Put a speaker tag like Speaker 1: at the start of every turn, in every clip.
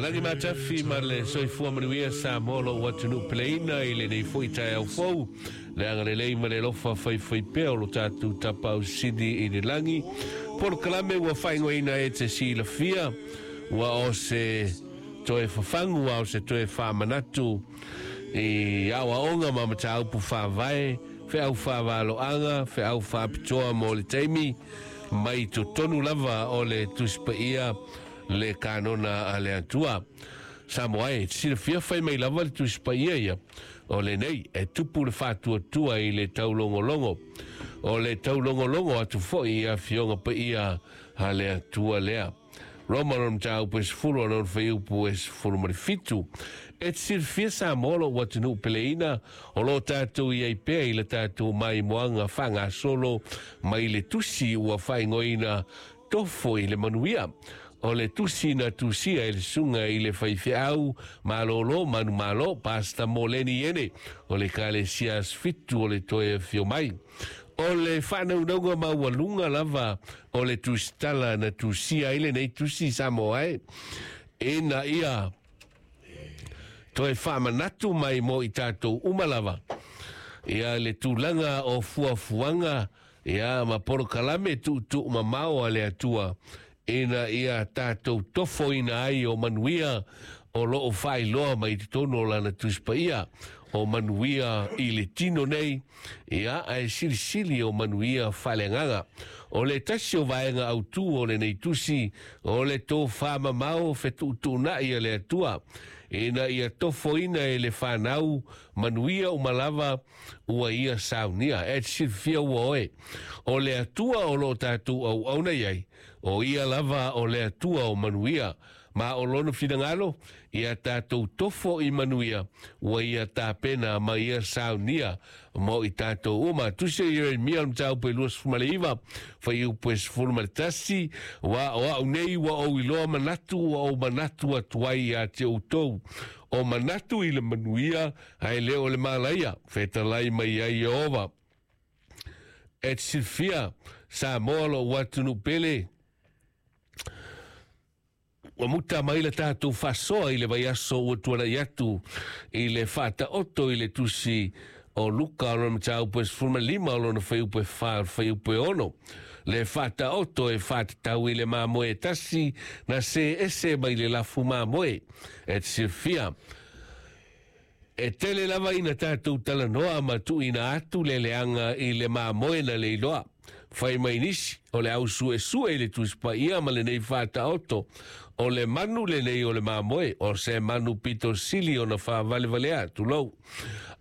Speaker 1: Lagi matafi ma le soifua manuia Samoa lou atunuu peleina i lenei foi taeao fou. Le agalelei ma le alofa faifaipea o lo tatou Tapaau Sili i le lagi. Polokalame ua faaigoaina e te silafia ua o se toe fafagu a o se toe faamanatu i aoaoga ma mataupu faavae, feau faavaloaga, feau faapitoa mo le taimi mai totonu lava o le Tusi Paia le kanona a le Atua. Samoa e, silafia fai mai lava le Tusi Paia ia, o lenei e tupu le faatuatua i le taulogologo. O le taulogologo atu foi i afioga paia a le Atua lea. Roma lona mataupu e 10 lona fuaiupu e 17. E te silafia Samoa lou atunuu peleina o lo o tatou i ai pea i le tatou maimoaga faagasolo mai le tusi ua faaigoaina Tofo i le Manuia. O le tusi na tusia e le susuga i le faifeau malolo manumalo Pastor Moleni Ene o le Ekalesia Aso Fitu o le Toe Afio Mai. O le faanaunauga maualuga lava o le tusitala na tusia ai lenei tusi Samoa e, ina ia toe faamanatu mai mo i tatou uma lava ia le tulaga o fuafuaga ia ma polokalame tuutuumamao a le Atua ina ia tatou tofoina ai o manuia o lo o faailoa mai totonu o lana Tusi Paia, o manuia i le tino nei, ia, ae silisili o manuia faaleagaga. O le tasi o vaega autū o lenei tusi, o le tofamamao fetuutuunai a le Atua, ina ia tofoina e le fanau manuia uma lava ua ia saunia. E te silafia ua oe, o le Atua o lo o tatou auauna i ai, o ia lava o le Atua o manuia, ma o lona finagalo, ia tatou tofo i manuia, ua ia tapena ma ia saunia mo i tatou uma. Tusi o Ieremia o le mataupu e 29, fuaiupu e 11, Ua o au nei ua ou iloa manatu ua ou manatu atu ai ia te outou, o manatu i le manuia, ae le o le malaia, fetalai mai ai Ieova. E te silafia, Samoa lou atunuu pele, Ua muta mai le tatou faasoa i le vaiaso ua tuanai atu i le faataoto i le tusi o Luka o lona mataupu e 15 o lona fuaiupu e 4 o le fuaiupu e 6. Le faataoto e faatatau i le mamoe e tasi na see ese mai le lafu mamoe. E te silafia, e tele lava ina tatou talanoa ma tuuina atu le leaga i le mamoe na leiloa. Fai mai nisi, o le au suesue i le Tusi Paia ma lenei faataoto, o le manu lenei o le mamoe, o se manu pito sili ona faavalevalea, tulou.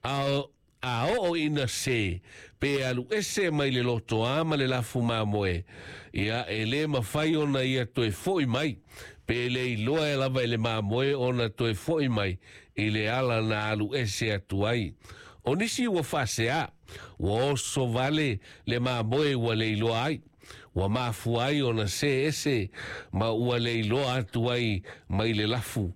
Speaker 1: A A oo ina se, pe alu ese mai le lotoa ma le lafu mamoe, ia, e le mafai ona ia toe foi mai, pe le iloa e lava i le mamoe ona toe foi mai i le ala na alu ese atu ai. O nisi ua faasea, ua oso vale le mamoe ua le iloa ai, ua mafua ai ona see ese ma ua le iloa atu ai mai le lafu.